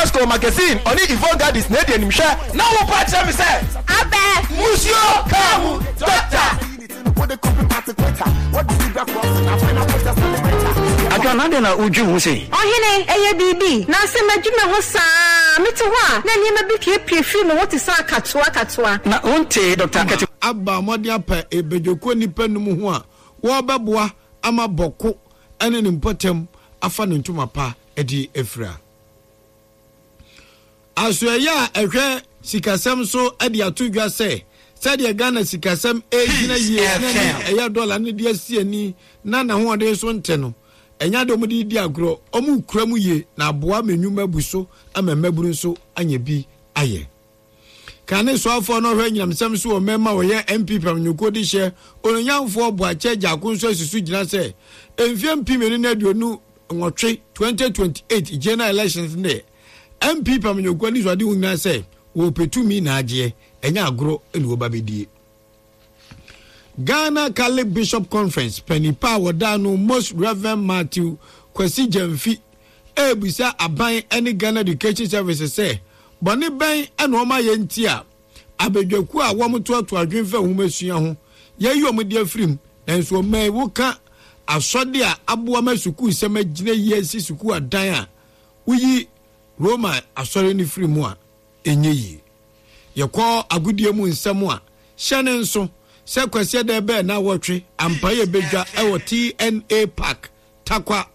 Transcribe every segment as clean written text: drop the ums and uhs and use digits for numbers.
Vasco Magazine ɔne Yvonne Gardens na edi animhwɛ. Na wo pa kyerɛ me sɛ. Abɛ. Musuo kaa mu doctor. Adwoa, na adɛn na wudwen ho sei? Ɔhene, ɛyɛ biribi? Na sɛ madwi me ho saa a, mete hɔ a, na nneɛma bi piepie firi me ho te sɛ akatoa akatoa. Na wontee Dɔkta Kɛte? Aba mmɔden apɛ ebedwokuo nnipa num ho a wɔrebɛboa ama Bɔko ne ne mpɔtam afa ne ntoma pa de afira. Asoɛeɛ a ɛhwɛ sikasɛm so de ato dwa sɛ sɛdeɛ Ghana sikasɛm regyina yie na ne ɛyɛ dɔla no de asi ani na n'ahoɔden so nte no, ɛnyɛ adeɛ wɔde redi agorɔ, wɔrekura mu yie na aboa ma nnwuma abu so ama mmabunu nso anya bi ayɛ. Kane soafoɔ no ɔhwɛ anyinamsɛm so wɔ mmarima a wɔyɛ NPP amanyɔkuo de hyɛ Onuonyamfoɔ Boakye Agyarko nso asi so gyina sɛ mfeɛ 2028, 2028 general elections no deɛ NPP amanyɔkuo anisoadehu nyinaa sɛ wɔrepɛ tumi na agyeɛ, ɛnyɛ agorɔ na wɔba bɛdie. Ghana Catholic Bishop Conference panin pa a wɔda ano Most Reverend Matthew Kwasi Gyamfi ɛrebisa aban ne Ghana Education Service sɛ bɔne bɛn na wɔn ayɛ nti a abadwakuo a wɔtoatoa adwene fa nhomasua ho yɛayi wɔn de afiri mu nanso ɔman yi woka asɔde a aboa ma sukuusɛm agyina yie asi sukuu adan a woyi Roma asɔre no firi mu a ɛnyɛ yie. Yɛkɔ agodie mu nsɛm a, hyɛ no nso sɛ Kwasiada bɛɛ nnawɔtwe ampa yɛ bɛdwa wɔ TNA Park, Tarkwa.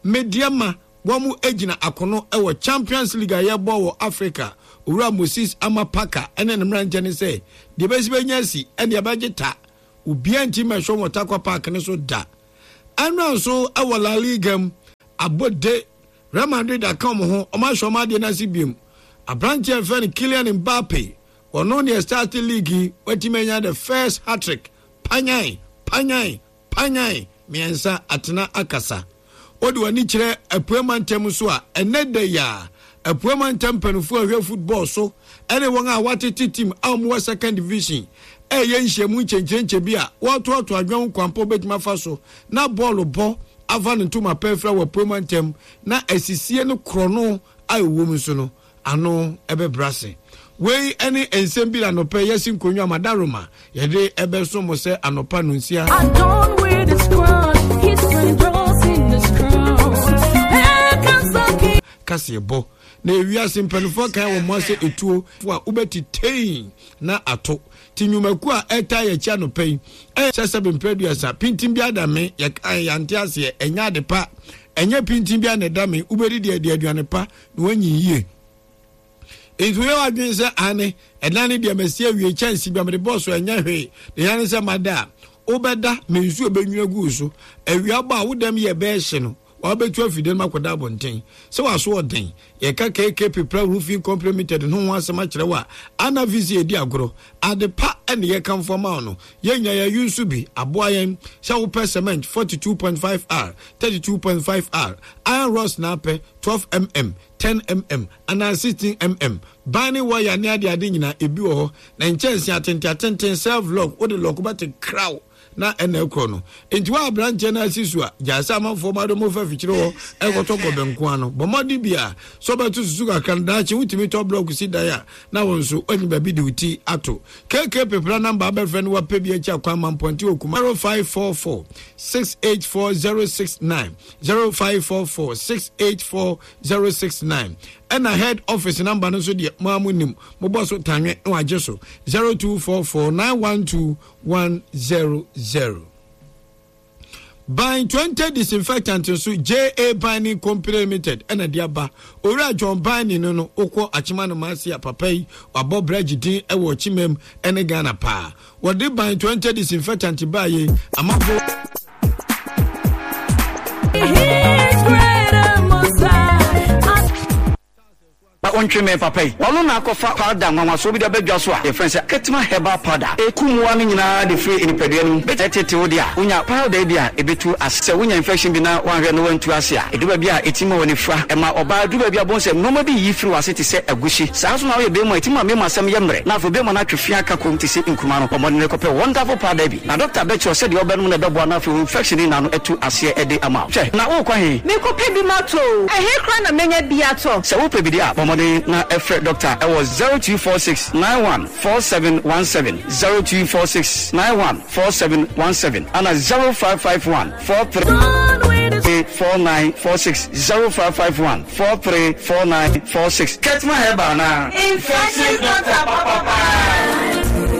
Medeama wɔn gyina akono wɔ Champions League a yɛbɔ wɔ Africa. Owura Moses Ama Parker ne ne mmeranteɛ no sɛ deɛ ɛbɛsi bɛnya asi ɛne ɛbɛgye ta. Obiara nti mmɛhwɛ wɔn wɔ Tarkwa Park no so da. Ɛnora nso wɔ La Liga mu, abɔde Real Madrid aka wɔn ho, wɔahyɛ wɔn adeɛ no ase biom. Aberanteɛ a yɛfrɛ no Kylian Mbappe, ɔno deɛ start league yi, watumi anya the first hat-trick. Panyan, panyan, panyan, mmiɛnsa, atena akasa. Wode w'ani kyerɛ Apuei mantam nso a, ɛnnɛ da yi a, Apuei mantam mpanimfoɔ a ɛhwɛ football so ne wɔn a wɔatete team a wɔwɔ second division ɛreyɛ nhyiamu nkyɛnkyɛnkyɛ bi a wɔretoatoa adwene ho kwan pa wɔbɛtumi afa so na bɔɔlo bɔ afa ne ntoma pa afira wɔ apuei mantam na asisie no korɔno a ɛwɔ mu nso no ano ɛbɛbrɛ ase. Wei ne nsɛm bi na anɔpa yi yɛasi nkonnwa ama Daroma yɛde ɛbɛso mo sɛ anɔpa nonsia. Kaseɛbɔ na ewiase mpanimfoɔ kan wɔn ase etuo a wobɛte tein na ato Te nnwumakuo a ɛtaa yɛn akyi anɔpa yi ɛyɛ sɛ sɛbe mprɛ aduasa pintin bi ada me yɛkae yɛante aseɛ ɛnyɛ ade pa ɛnyɛ pintin bi a na ɛda me wobɛdi deɛ ɛde aduane pa na wanyin yie nti woyɛ w'adwene sɛ ane ɛdan ne deɛ masi awie kyɛnse bi a mede bɔɔ so ɛnyɛ hwee deɛ yɛne sɛ mada a wobɛda me nsuo bɛnwina gu so awia bɔ a wo dɛm yɛ bɛɛhye no Wabetu afi dan mu akɔda abɔnten. Sɛ w'aso ɔden, yɛka KK Pepra Roofing Company Limited no ho asɛm akyerɛ wo a, ana afei sɛ yɛdi agorɔ? Ade pa na yɛkamfo ama wo no. Yɛn nyinaa yɛayi nso bi aboa yɛn. Sɛ wopɛ cement 42.5 R, 32.5 R, iron rods na apɛ, 12 mm, 10 mm, anaa 16 mm, ban ne wire ne adeade nyinaa, ebi wɔ hɔ. Na nkyɛnsee atenten atenten, self lock, wode lɔko bɛte kraw. na ɛna ɛkorɔ no nti wo aberanteɛ no asi so a gyae sɛ amanfoɔ ma de mo fa fikyire hɔ ɛkɔtɔ gɔbɛ nko ano bɔ mmɔden bi a sɛ ɔbɛto susu kakra no daakye wotumi tɔ blɔk si dan a na wo nso woanya baabi de wo ti ato KK pepra namba abɛfrɛ no wapɛ bi akyi akwan ma mpɔnte wɔ kuma 0544 684 069 0544 684 069 ɛna head office namba no nso deɛ mo a mo nim mobɔ so tanwe na wagye so 0244 912 100. Ban 20 disinfectant nso JA Binding Company Limited ɛna de aba. Owura John Binding no no wokɔ Akyema no maase a papa yi wabɔ brɛgye din ɛwɔ Ɔkyemam ɛne Ghana paa. Wɔde ban 20 disinfectant baa yei amafo. Na ɔntwe mmɛn papa yi. Ɔno na akɔfa powder nwanwasoɔ bi de aba dwa so a yɛfrɛ no sɛ Ketima Herbal Powder. Ɛku mmoa no nyinaa de firi nipadua no mu. Ɛtete wo deɛ a, wonya powder yi bi a, ɛbɛtu ase. Sɛ wonya infection bi na woanhwɛ na woantu ase a, ɛduru baabi a, ɛtumi ma w'ani fura. Ɛma ɔbaa duru baabi a wobɛhu sɛ nnoɔma bi reyi firi w'ase te sɛ agushi. Saa nso na woyɛ barima a, ɛtumi ma mmarima asɛm yɛ mmerɛ na afei barima no atwe fi aka komm te sɛ nkruma no. Bɔ mmɔden kɔpɛ Wonderful Powder yi bi na dɔkta bɛkyerɛ wo sɛdeɛ wobɛnom na ɛbɛboa na afei wo infection no nyinaa no atu aseɛ de ama wo. Hwɛ, na worekɔ he? Merekɔpɛ bi matɔ o. Ɛhe koraa na mɛnya bi atɔ? Sɛ wopɛ bi deɛ a, bɔ mmɔden. mmɔden na frɛ dɔkta wɔ 0246 91 4717, 0246 91 4717 ana 0551 43 4946, 0551 43 4946. Ketma Herbal anaa? Infectious doctor papapaa.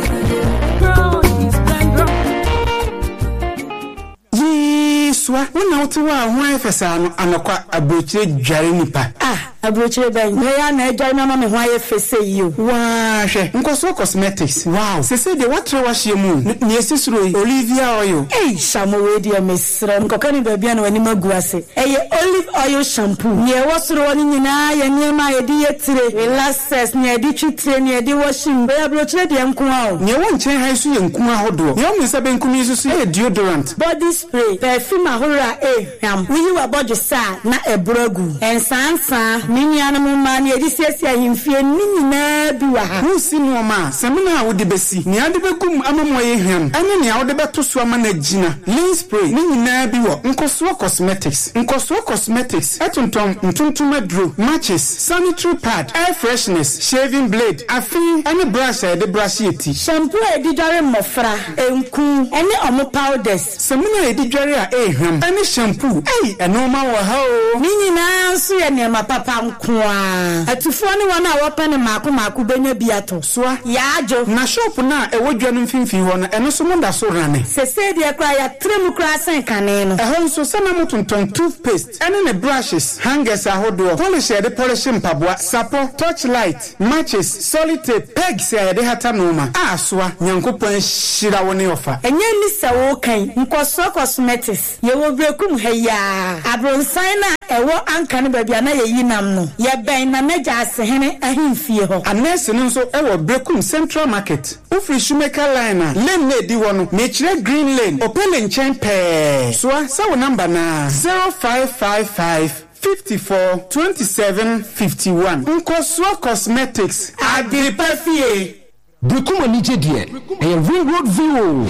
Yee soa, wo na wote hɔ a ho ayɛ fɛ saa no, anɔkwa, aburokyire dware nipa. Ah, aburokyire bɛn na ɛyɛ a na adware me ama me ho ayɛ fɛ sei yi o. Waa hwɛ, nkɔsoɔ cosmetics, wow, sesei deɛ woatrɛ w'ahyeɛ mu o, nea ɛsi soro yi, Olivia oil. Ei, Shamo wei deɛ mesrɛ wo, nkɔka no baabi a na w'anim agu ase. Ɛyɛ olive oil shampoo. Nea ɛwɔ soro hɔ no nyinaa yɛ nneɛma a yɛde yɛ tire, relaxers, nea yɛde twi tire, nea yɛde wɔhye mu. Wei aburokyire deɛ nko ara o. Nea ɛwɔ nkyɛn ha yi nso yɛ nku ahodoɔ. Nea ɛwɔ me nsa benkum yi nso so yɛ deodorant. Body spray, perfume ahorow a ɛrehwam. Woyi w'abɔdwesɛ a, na ɛboro agu. Nsaansaa, me nuanom mmaa, nea yɛde siesie ahemfie, ne nyinaa bi wɔ ha. Woresi nnoɔma a, samina a wode bɛsi, nea wode bɛgu mu ama mu ayɛ hwam, ne nea wode bɛto so ama no agyina, linen spray, ne nyinaa bi wɔ Nkɔsoɔ Cosmetics. Nkɔsoɔ Cosmetics tontɔn ntontom aduro, matches, sanitary pad, air fresheners, shaving blade, afe, ne brush a yɛde brushe yɛ ti. Shampoo a yɛde dware mmɔfra, nku, ne wɔn powders. Samina a yɛde dware a ɛyɛ hwam, ne shampoo. Ei, ɛnoɔma wɔ ha oo! Ne nyinaa nso yɛ nneɛma papa nko ara. Atufoɔ ne wɔn a wɔpɛ no mmaako mmaako bɛnya bi atɔ. Soa. Yaadwo. Na shop no a ɛwɔ dwa no mfimfini hɔ no, ɛno nso moda so rane? Sesei deɛ koraa yɛatra mu koraa sen kane no. Ɛhɔ nso, sɛ na motontɔn toothpaste ne ne brushes, hangers ahodoɔ, polish a yɛde pɔlehye mpaboa, sapɔ, torch light, matches, solid tape, pegs a yɛde hata nnoɔma. A Soa, Nyankopɔn ahyira wo ne ɔfa. Ɛnyɛ nni sɛ woka yi, nkɔsoɔ cosmetics, yɛwɔ Berekum ha yi ara, abronsan no a ɛwɔ Anka no baabi a na yɛyi nam no, yɛbɛn Nana Gyaasehene ahemfie hɔ. Anɛɛse no nso wɔ Berekum Central Market. Wofiri Shoemaker Line a, lane no a ɛdi hɔ no, mekyerɛ Green Lane, Opele nkyɛn pɛɛ. Soa sɛ wo number no ara, 0555 54 27 51. Nkɔsoɔ Cosmetics, Adepa Fie. Berekum anigye deɛ, ɛyɛ Ring Road View o.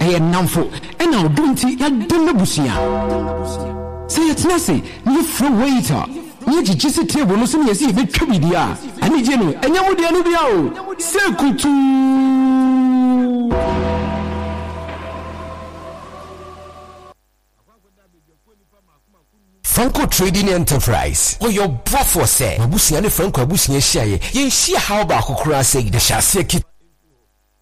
Ɛyɛ nnamfo ɛna ɔdɔ nti yɛadɔ m'abusua. Sɛ yɛtena ase na yɛfrɛ waiter na yɛgyegye si table no so na yɛse yɛbɛtwa biribi a, anigye no ɛnyɛ mo deɛ no bia o. Sɛ kutuu. Franco Trading Enterprise, Ɔyɛ ɔboafoɔ sɛ m'abusua ne Franco abusua hyiaeɛ, yɛnhyia haw baako koraa sɛ yɛhyɛ aseɛ ket.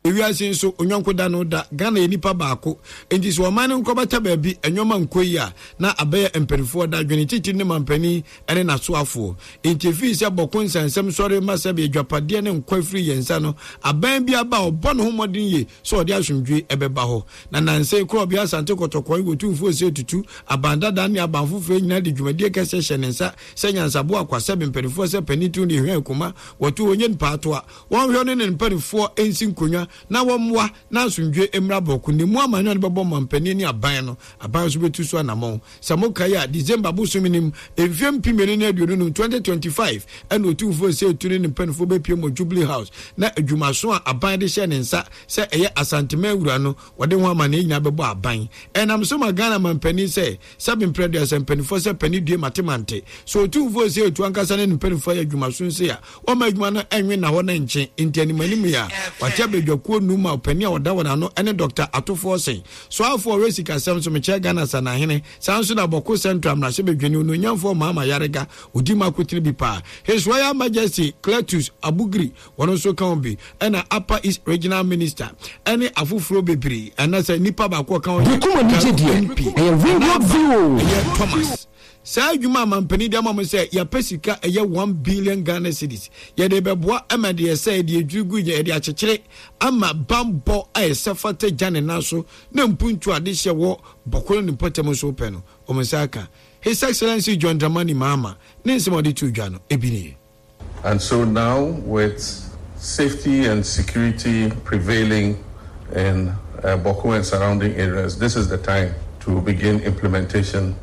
Ewiase nso, onyɔnko da no da. Ghana yɛ nipa baako. Enti sɛ ɔman no nkorabata baabi nneɛma nkɔ yie a, na abɛyɛ mpanimfoɔ dadwene, titiri ne mampanin ne n'asoafoɔ. Enti efii sɛ Bɔko nsɛnsɛm sɔre ma sɛbe adwapadeɛ ne nkwa firi yɛn nsa no, aban bi aba a ɔbɔ ne ho mmɔden yie sɛ ɔde asomdwoe bɛba hɔ. Na nnansa yi Korɔbea Asante Kɔtɔkɔe wɔ Tumfoɔ Osei Tutu, aban dada ne aban foforɔ nyinaa de dwumadie kɛseɛ hyɛ ne nsa sɛ nyansaboa akwasɛbe mpanimfoɔ sɛ panin tiri ne hwɛn kuma wɔto onye mpaatoa wɔnhwɛ ɔne ne mpanimfoɔ nsi nkonnwa na wɔmmoa na asomdwoe mmra bɔko ne mu amanyɔ no bɛbɔ mampanin ne aban no aban nso bɛtu so anammɔn. Sɛ mokae a, December bosome no mu, mfeɛ 2025, 2025, ɛna Otumfoɔ Osei Tutu ne ne mpanimfoɔ bɛpiem wɔ Jubilee House na adwumaso a aban de hyɛɛ ne nsa sɛ ɛyɛ Asanteman wura no, wɔde ho amanneɛ nyinaa bɛbɔ aban. Ɛnam so ma Ghana manpanin sɛ, sɛbe mprɛ aduasa mpanimfoɔ sɛ panin due mate mante. Sɛ Otumfoɔ Osei Tutu ankasa ne ne mpanimfoɔ ayɛ adwumaso sei a, wɔmma adwuma no ɛnwe nna hɔ na nkye. Nti animanim yi a, wɔate abadwakuo num ma ɔpanin a ɔda wɔn ano ne Dɔkta Atofoɔ Osei. Soafoɔ a ɔhwɛ sikasɛm so, mekyerɛ Ghana Sanahene, saa nso na Bawku Central mmarahyɛbadwani Onuonyamfoɔ Mahama Ayariga, ɔdi mu akotene bi paa. His Royal Majesty Cletus Abugri, wɔn nso ka ho bi, ɛna Upper East Regional Minister, ɛne afoforɔ bebree, ɛna sɛ nipa baako a ɔka ho yɛ Bekum anigye Garu deɛ, MP, ɛyɛ Ring Nana Road Aba, View o. ɛyɛ Thomas. Saa adwuma a mampanin de ama mo sɛ yɛapɛ sika ɛyɛ 1 billion Ghana cedis, yɛde bɛboa ama deɛ ɛsɛ yɛde adwiri gu yɛde akyekyere ama bammɔ a ɛsɛ fata gya ne nan so na mpuntu adehyeɛ wɔ Bɔko ne ne mpɔtam nso pɛ no, wɔn nsa aka. His Excellency John Dramani Mahama ne nsɛm a ɔde too dwa no, ebi nie. And so now with safety and security prevailing in uh, Boko and surrounding areas, this is the time to begin implementation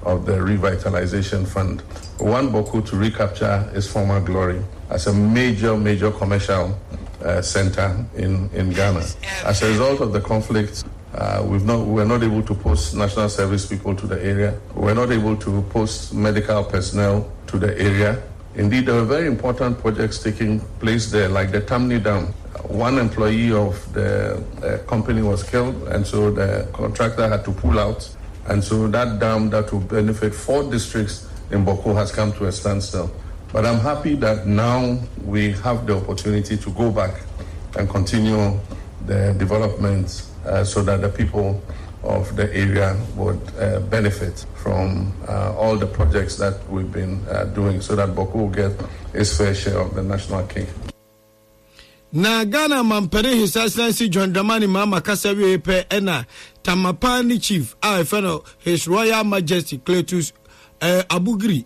of the Revitalization Fund. We want Boko to recapture its former glory as a major, major commercial uh, center in, in Ghana. As a result of the conflict, uh, we've not, we were not able to post national service people to the area. We were not able to post medical personnel to the area. Indeed, there were very important projects taking place there, like the Tamni Dam. One employee of the uh, company was killed, and so the contractor had to pull out. And so that dam that will benefit four districts in Boko has come to a standstill. But I'm happy that now we have the opportunity to go back and continue the development uh, so that the people of the area would uh, benefit from uh, all the projects that we've been uh, doing so that Boko will get its fair share of the national cake. Na Ghana mampanin His Excellency John Dramani Mahama kasa wiei pɛ ɛna Tamapa ne Chief a ɛfɛ no His Royal Majesty Cletus eh, Abugiri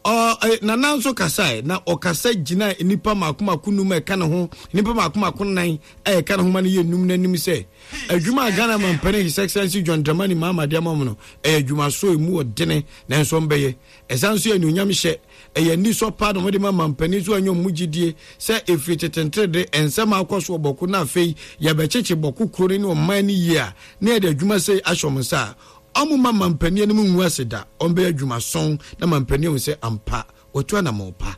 ɔ eh, Nana nso kasae na ɔkasa gyina nnipa mako mako num a ɛka ne ho nnipa mako mako nan a ɛka ne ho ma no yɛ num n'anim sɛ adwuma a Ghana mampanin His Excellency John Dramani Mahama de ama mu no ɛyɛ adwuma so emu ɔdene nanso ɔmbɛyɛ ɛsan nso yɛ anuonyam hyɛ Ɛyɛ anisɔ paa na wɔde ma mampanin so anya wɔn mu gyidie sɛ ɛfiri tete nterede nsɛm a akɔ so wɔ Bɔko na afei yɛbɛkyekye Bɔko kuro no ne ɔman no yie a na yɛde adwuma sei ahyɛ wɔn nsa a wɔmma mampanin anim ngu ase da, wɔbɛyɛ adwumason na mampanin ahu sɛ ampa wɔatu anammɔn pa.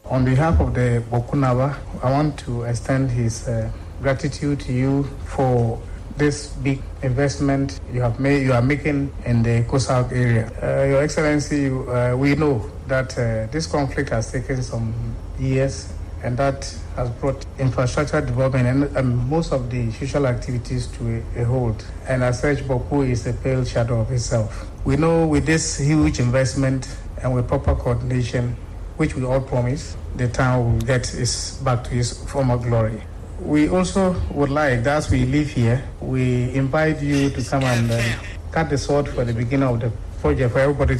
On behalf of the Bokunaba, I want to extend his uh, gratitude to you for this big investment you have made, you are making in the COSAC area. Uh, Your Excellency, uh, we know that uh, this conflict has taken some years and that has brought infrastructure development and, and most of the social activities to a, a halt. And as such, Boku is a pale shadow of itself. We know with this huge investment and with proper coordination, which we all promise, the town will get its back to its former glory. We also would like, as we live here, we invite you to come and uh, cut the sword for the beginning of the project for everybody.